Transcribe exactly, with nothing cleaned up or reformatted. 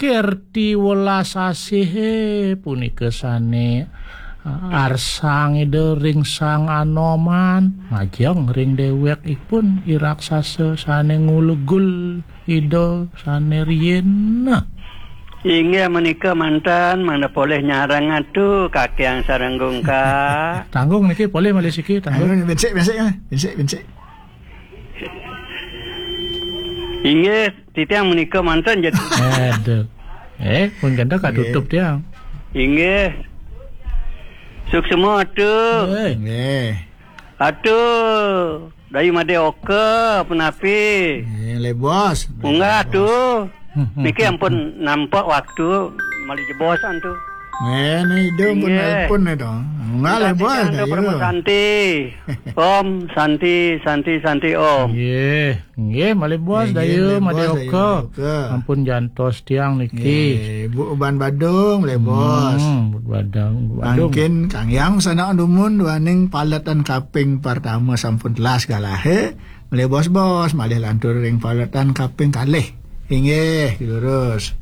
Kerti welas asih punika sane arsang Ida ring Sang Anoman, majeng ring dewekipun i raksasa sane ngulegul Ida sane riin. Inggih menika manten, mangda polih nyareng atu kakiang sareng gungka. Tanggung niki polih malih siki, tanggung. Ayo, bensik, bensik, ah. Bensik, bensik. Inggih, titiang menika manten, jadi. Aduh. Eh, pun ganda katutup tiang. Inggih. Suksema atu. Eh. Nggih. Atu, Dayu Made Oka, punapi? Eh, lebos. Munggah atu. Hmm, hmm, Niki hmm, ampun hmm. Nampak waktu malih jebosan tu. Eh, ni hidung pun Inggih. Nelpon ni tu. Munggah lebos, Santi, Dayu. Santi. Om, Santi, Santi, Santi, Om. Nggih, nggih, malih bos, Nggih, Dayu, malih Made bos, Dayu Oka. Made Oka. Ampun jantos tiang niki. Nggih, Bu Uban Badung, malih bos. Hmm, Bu Badung, Bu Badung. Mangkin Kang Yang sanak dumun duaning paletan kaping pertama sampun telas galah, he. Malih bos-bos, malih lantur ring paletan kaping kalih. Inggih, lurus.